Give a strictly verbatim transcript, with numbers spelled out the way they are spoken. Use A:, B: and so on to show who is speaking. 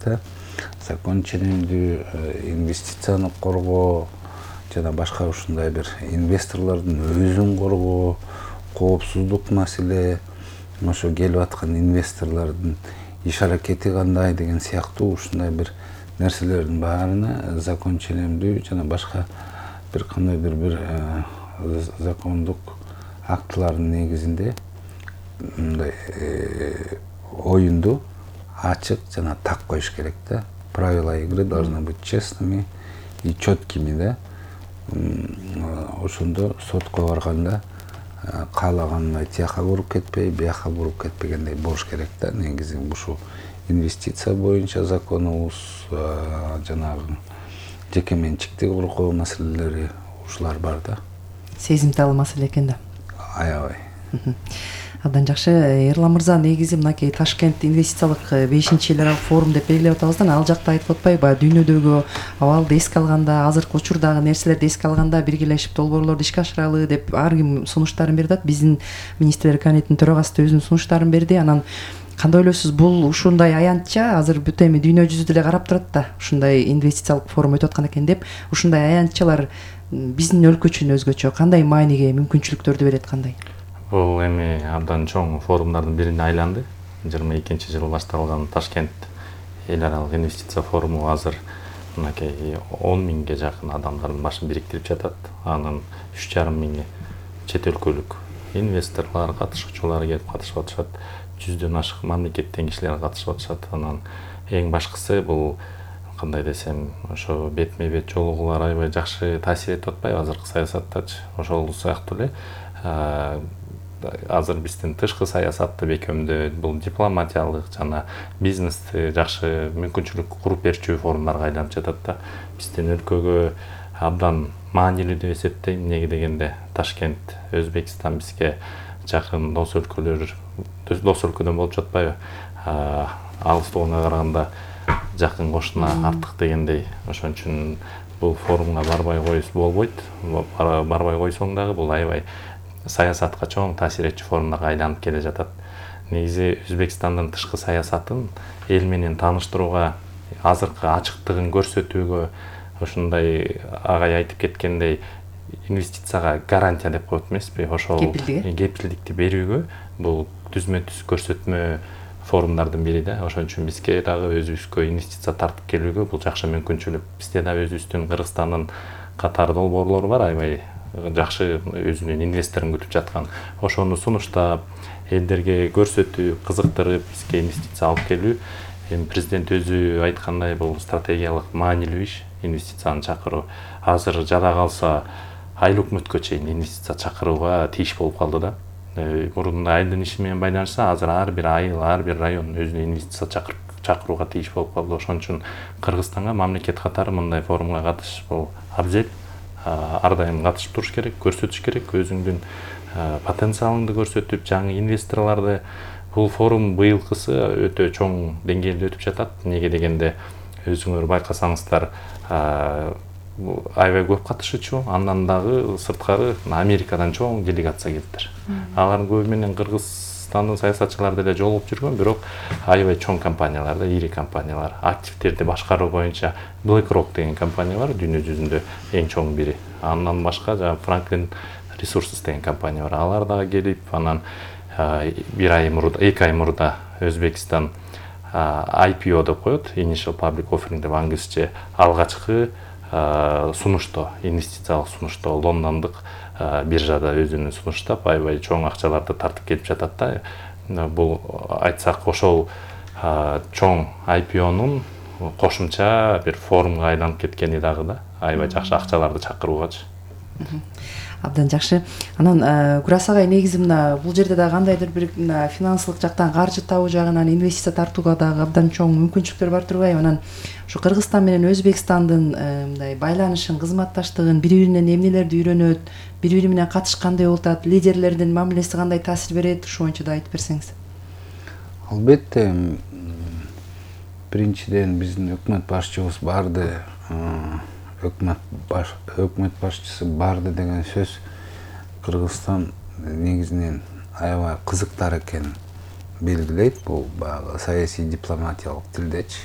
A: электе. Закон ченемдүү инвестицияны коргоо жана башка ушундай бир инвесторлордун өзүн коргоо, коопсуздук маселе, ошо келип аткан инвесторлордун иш аракети кандай деген сыяктуу ушундай бир нерселердин баарына закон ченемдүү жана башка бир кандайдыр бир закондук актылардын негизинде мындай оюнду ачык жана так коюш керек да. Правила игры должны быть честными и четкими, да. Ошондо сотко барганда каалагандай тияка буруп кетпей, бияка буруп кетпегендей болуш керек да. Негизи ушул инвестиция боюнча законубуз, жанагы жеке менчикти коргоо маселелери ушулар бар да.
B: Сезимтал маселе экен да.
A: Аябай.
B: Абдан жакшы. Эрлан мырза, негизи мынакей Ташкент инвестициялык бешинчи эл аралык форум деп белгилеп атабыздан, ал жакта айтып атпайбы, дүйнөдөгү абалды эске алганда, азыркы учурдагы нерселерди эске алганда биргелешип долбоорлорду ишке ашыралы деп ар ким сунуштарын берди атат. Биздин министрлер кабинетинин төрагасы да өзүнүн сунуштарын берди. Анан кандай ойлойсуз, бул ушундай аянтча азыр бүт эми дүйнө жүзү деле карап турат да, ушундай инвестициялык форум өтүп аткан экен деп. Ушундай аянтчалар биздин өлкө үчүн өзгөчө кандай мааниге, мүмкүнчүлүктөрдү берет, кандай?
C: Бул эми абдан чоң форумдардын бирине айланды. жыйырма экинчи жылы башталган Ташкент эл аралык инвестиция форуму азыр мынакей он миңге жакын адамдардын башын бириктирип жатат. Анын үч жарым миңи чет өлкөлүк инвесторлор, катышуучулар келип катышып атышат. жүздөн ашык мамлекеттен кишилер катышып атышат. Анан эң башкысы бул кандай десем, ошо бетме бет жолугуулар аябай жакшы таасир этип атпайбы азыркы саясаттачы. Ошол сыяктуу эле азыр биздин тышкы саясатты бекемдөө, бул дипломатиялык жана бизнести жакшы мүмкүнчүлүк куруп берчү форумдарга айланып жатат да. Биздин өлкөгө абдан маанилүү деп эсептейм. Эмнеге дегенде Ташкент, Өзбекстан бизге жакын дос өлкөлөр, дос өлкөдөн болуп жатпайбы? Алыстыгына караганда жакын кошуна артык дегендей. Ошон үчүн бул форумга барбай коюш болбойт. Барбай койсоң дагы бул аябай саясатка чоң таасир этчү форумдарга айланып келе жатат. Негизи Өзбекстандын тышкы саясатын эл менен тааныштырууга, азыркы ачыктыгын көрсөтүүгө, ушундай агай айтып кеткендей инвестицияга гарантия деп коет эмеспи? Ошол кепилдикти берүүгө бул түзмө-түз көрсөтмө форумдардын бири да. Ошон үчүн бизге дагы өзүбүзгө инвестиция тартып келүүгө бул жакшы мүмкүнчүлүк. Бизде дагы өзүбүздүн Кыргызстандын катар долбоорлору бар, аябай жакшы өзүнүн инвесторун күтүп жаткан. Ошону сунуштап, элдерге көрсөтүп, кызыктырып, бизге инвестиция алып келүү. Эми президент өзү айткандай, бул стратегиялык маанилүү иш, инвестицияны чакыруу. Азыр жада калса айыл өкмөткө чейин инвестиция чакырууга тийиш болуп калды да. Мурунда айылдын иши менен байланышса, азыр ар бир айыл, ар бир район өзүнө инвестиция чакырууга тийиш болуп калды. Ошон үчүн Кыргызстанга мамлекет катары мындай форумга катышыш бул абзел. Ар дайым катышып туруш керек, көрсөтүш керек, өзүңдүн потенциалыңды көрсөтүп, жаңы инвесторлорду. Бул форум быйылкысы өтө чоң деңгээлде өтүп жатат. Неге дегенде өзүңөр байкасаңыздар, аябай көп катышуучу, андан дагы сырткары Америкадан чоң делегация келиптир. Алардын көбү менен Кыргызстандын саясатчылары деле жолугуп жүргөн, бирок аябай чоң компаниялар да, ири компаниялар. Активдерди башкаруу боюнча BlackRock деген компания бар, дүйнө жүзүндө эң чоң бири. Андан башка жана Franklin Resources деген компания бар. Алар дагы келип, анан бир ай мурда, эки ай мурда Өзбекстан ай пи о деп коет, Initial Public Offering деп англисче, алгачкы сунушто, инвестициялык сунушто лондондук биржада өзүнүн сунуштап, аябай чоң акчаларды тартып келип жатат да. Бул айтсак ошол чоң ай пи о'нун кошумча бир форумга айланып кеткени дагы да, аябай жакшы акчаларды чакыруугачы.
B: Абдан жакшы. Анан Курас агай, негизи мына бул жерде дагы кандайдыр бир финансылык жактан, каржы табуу жагынан инвестиция тартууга дагы абдан чоң мүмкүнчүлүктөр бар турбайбы? Анан ушу Кыргызстан менен Өзбекстандын мындай байланышын, кызматташтыгын, бири-биринен эмнелерди үйрөнөт, бири-бири менен катыш кандай болуп атат, лидерлердин мамилеси кандай таасир берет, ушул боюнча да айтып берсеңиз.
A: Албетте, биринчиден биздин өкмөт башчыбыз барды, өкмөт баш өкмөт башчысы барды деген сөз Кыргызстан негизинен аябай кызыктар экенин белгилейт. Бул баягы саясий дипломатиялык тилдечи.